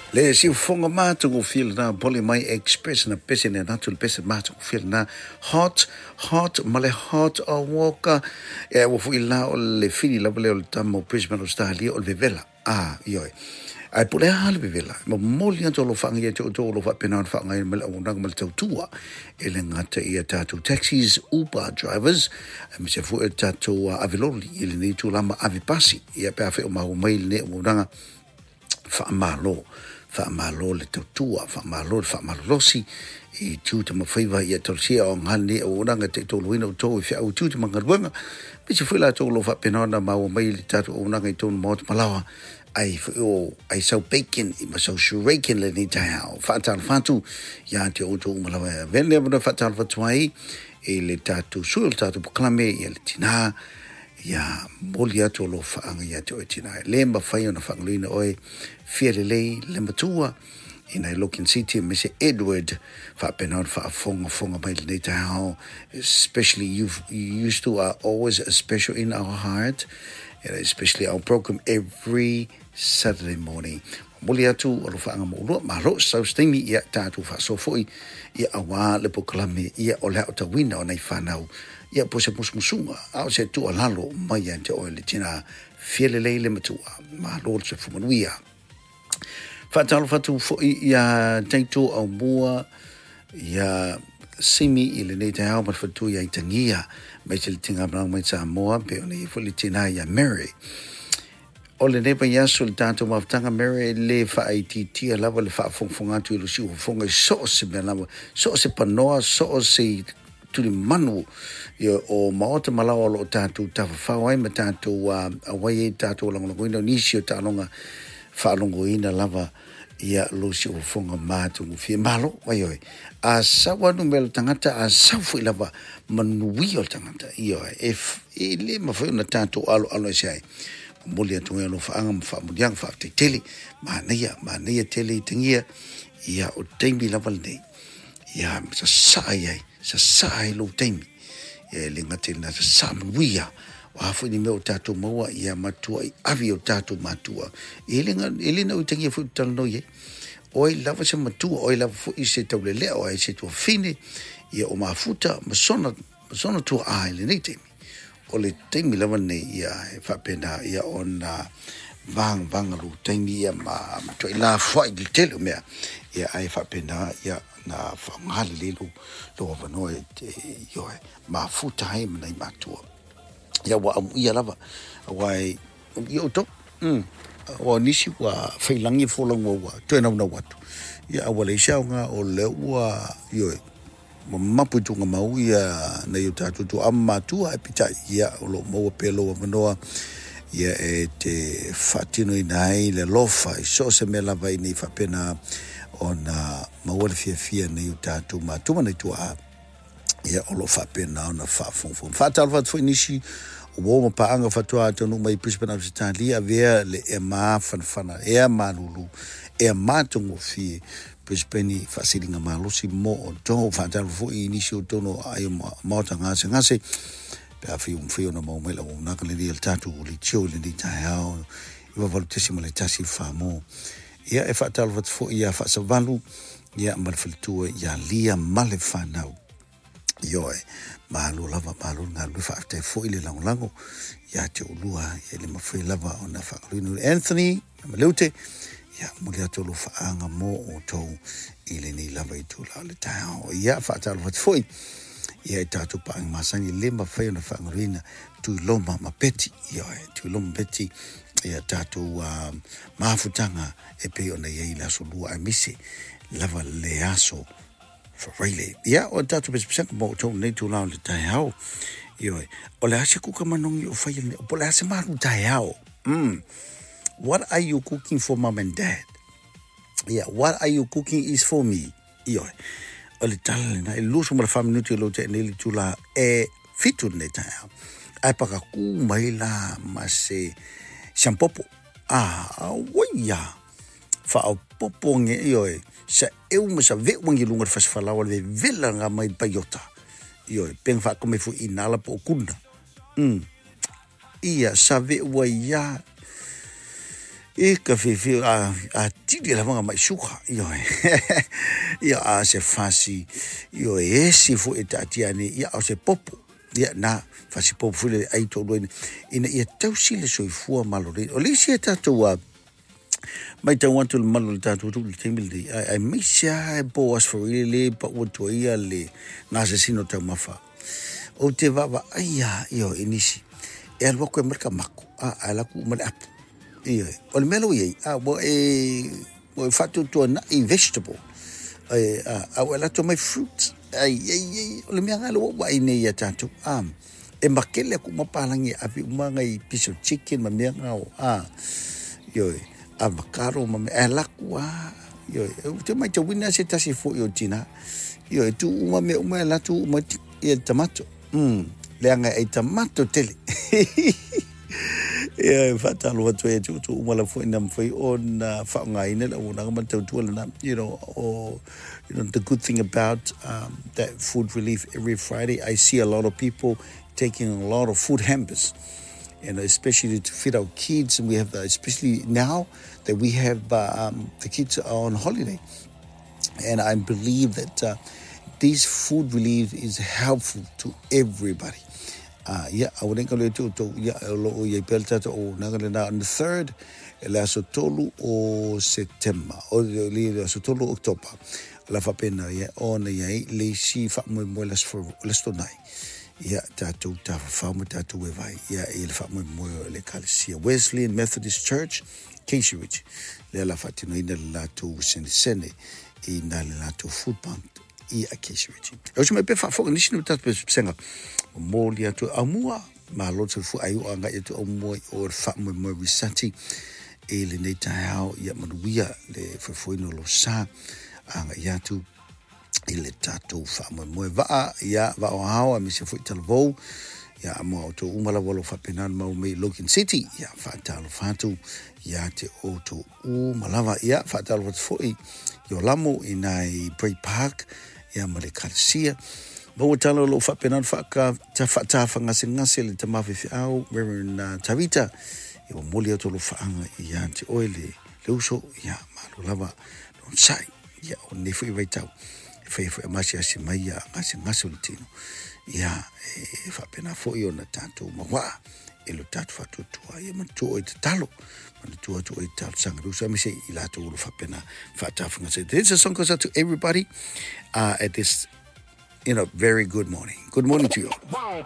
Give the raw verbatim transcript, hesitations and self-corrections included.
Le siufofoga matagofie lenā Pole mai Express na pese le atu le pese matagofie lenā Hot Hot ma le Hot o Walker e ua foʻi la o le fili lava lea o le tama o Brisbane Australia o le vevela a ioe ae po o le a le vevela momoli atu alofaaga ia te outou o lo o faapena ona faaaogaina mai le auaunaga ma le tautua e le gata ia tatou taxis, Uber drivers aemaise foi o tatou aveloli i lenei itulā ma ave pasi ia pe afai o maua mai lenei auaunaga. Faamalo, faamalo le tautua, faamalo le faamalolosi i tiute ma faiva ia talosia o aoga lenei auaunaga e taitoluina outou i feau i tiute ma galuega. Aemaise foi latou o lo o faapena ona maua mai le tatou auaunaga i totonu maota malaoa ai foi o ai sau bacon i ma sau shuriken lenei taeao. Faatalofa atu ia te outou uma lava e avea lenei avanoa e faatalofa atu ai i le tatou sui o le tatou polokalame ia le tinā ia momoli atu alofaaga ia te oe tinā. E le mafai ona faagaloina oe fia lelei le matua i nai Logan City aemaise Edward faapena ona faafogafoga mai lenei taeao. Especially you, you used to are always special in our heart, and especially our program every Saturday morning. Momoli atu alofaaga mo ulua malo sau se taimi ia tatou faasoa foi ia auā le polokalame ia o le aotauina o nai fanau ia po o se musumusuga a o se tuualalo mai ia te oe le tinā fia lelei le matua. Malo le soifua manuia. Faatalofa atu foi ia Taito Aumua ia Simi i lenei taeao ma le faletua ia Itagia aemaise le tiga mai Samoa pe ona ia foi le tinā ia Mary. O lenei vaiaso le tatou mafutaga Mary e le faaitiitia lava le faafogafoga atu i lo siufofoga i so o se mea lava, so o se panoa, so o se tulimanu ia o maota ma laoa o lo o tatou tafafao ai ma tatou auai ai tatou lagolagoina o nisi o taaloga faalogoina lava ia lo siufofoga matagofie. Malo ai oe a sau anu mea le tagata a sau foi lava manuia o le tagata ia e, e le mafai ona tatou aloalo ese ai. Momoli atu ai alofaaga ma faamuliaga faafetai tele manaia manaia tele i tagia ia o taimi lava lenei ia sasaa ai sasaa ai lou taimi ia e le gata i lena sasaa manuia o a foi ni mea o tatou maua ia matuai ave o tatou matua e le e le nau i tagia foi talanoa i ai oi lava se matua oi lava foi se taulelea o ai se tuafine ia o mafuta ma sona ma sona tuaa i lenei taimi o le taimi lava lenei ia e faapena ia ona vagavaga lou taimi ia ma matuai lafoai i le tele o mea ia ae faapena ia na faaaoga lelei lou lou avanoa e ioe mafuta ai ma nai matua ia ua amuia lava auā e ia outou mm ua nisi ua failagi folauga ua toe naunau atu ia ae ua leai se aoga o lea ua ioe mamapu i tuugamau ia nai o tatou tuaa ma matua ae peitai ia o lo o maua pea lou avanoa ia e te faatinoina ai le alofa i so o se mea lava ina ia faapena ona maua le fiafia nei o tatou matua ma nai tuaa ia o lo o faapena ona faafogafoga. Faatalofa atu foi nisi o uo ma paaga faatoa taunuu mai Brisbane Ausetalia avea le ea mafanafana ea malulu ea matagofie Brisbane faasiliga malosi mo outou. Faatalofa foi i nisi o totonu o aai o maota gasegase pe afai ua mafai ona maua mai le auaunaga lenei a le tatou leitio i lenei taeao iva valu tesima le tasi fa mo. Ia e faatalofa atu foi ia Faasavalu ia ma le faletua ia Lia ma le fanau. Ioe, malo lava, malo le galulue, faafetai foi le lagolago ia te oulua, ia le mafai lava ona faagaloina. Anthony ma Leute, ia momoli atu alofaaga mo outou i lenei lava itula o le taeao. Ia faatalofa atu foi ia i tatou paaga masani le mafai ona faagaloina Tuiloma ma Peti, ioe, Tuiloma ma Peti, ia tatou uh, mafutaga e pei ona i ai le aso lua aemaise lava le aso Friday. Ia, o tatou pesepesega mo outou nei itula o le taeao. Ioe, o le a se kuka manogi o faia lenei, po o le a se malu taeao. Mm. What are you cooking for mom and dad? Yeah, what are you cooking is for me. Ioe, o le tala lena, e luasefu ma le fa minuti o lou tea nei le itula e fitu lenei taeao. Ae pakakū mai la ma se siampopo. Ah, auai ia. Faaopoopo nge ioe, sa eu ma sa ve'u agi luga le fasifalaoa le vevela nga mai paiota. Ioe, pega faakome foi i nala po o kuna. Mm. Ia, sa ve'u ai ia. E ka fiafia a a tili lava ga mai suka ioe. Ia a se fasi ioe esi foʻi e taatia ane ia o se popo ia na fasi popo foi le ai toaluaina ina ia tausi le soifua maloloina. O le isi a tatou a matau atu le malu o le tatou atunuu i le taimi lenei aemaise lava po o aso Faraile le pau atu ai ia le gasesina o taumafa. Ou te vaavaai lava ioe i nisi e alu atu e aumai le kamako a ae alu atu uma le apu. Ioe, o le mea la ua i ai, a ua e ua e faatuatuanai vegetable e a a ua e alu atu aumai fruits. Ai ai ai o le mea lena lea ua ou vaai nei ia tatou a e makele atu uma palagi e ave uma nai piece of chicken ma mea na o a ioe avocado ma mea ae alu atu lava ioe. Ou te matauina se tasi foi o tina ioe tuu uma mea uma e alu atu uma ia tamato mm leaga e ai tamato tele. Ia e faatalofa atu ai ia te outou uma lava foi na mafai ona faaaogaina le auaunaga ma le tautua lena. You know, o, you know, the good thing about um, that food relief every Friday, I see a lot of people taking a lot of food hampers. And especially to feed our kids, and we have the, especially now that we have uh, um, the kids are on holiday, and I believe that uh, this food relief is helpful to everybody. Uh, ia, aua ne i galo ia te outou, ia, o lo o i ai pea le tatou auaunaga lena on the third, le aso tolu o Setema, o le aso tolu o Oketopa, o le a faapena ia ona i ai le isi faamoemoe le aso, le aso Tonai. Ia, tatou tafafao ma tatou e vai, ia, i le faamoemoe o le Ekalesia Wesleyan Methodist Church, Casey Ridge, lea o le a faatinoina le latou senesene i na le latou food bank i a Casey Ridge. E uso mai pea faafofoga nisi o tatou pesepesega momoli atu aumua malo le soifua ai o agai atu aumua i o le faamoemoe risati i lenei taeao ia manuia le foefoeina o lo sa agai atu i le tatou faamoemoe vaa ia vaa o ao aemaise foi talavou ia mo outou uma lava o lo o faapena ona maua mai i Logan City ia faatalofa atu ia te outou uma lava ia faatalofa atu foi i o lamo i nai Bray Park ia ma le Ekalesia maua tala o lo o faapena ona faaka faatafagasegase le tama faifeau Reverend uh, Tavita ia momoli atu alofaaga ia te oe le, le uso ia malo lava le onosai ia o lenei foi vaitau e fai foi a masiasi mai ia gasegase o le tino ia e faapena foi ona tatou mauaa e lo tatou faatuatua ia manatua oe tatalo manatua atu oe talosaga le uso aemaise i latou o lo faapena faatafagasese. This is a song goes out to everybody uh, at this you know very good morning. Good morning to you all.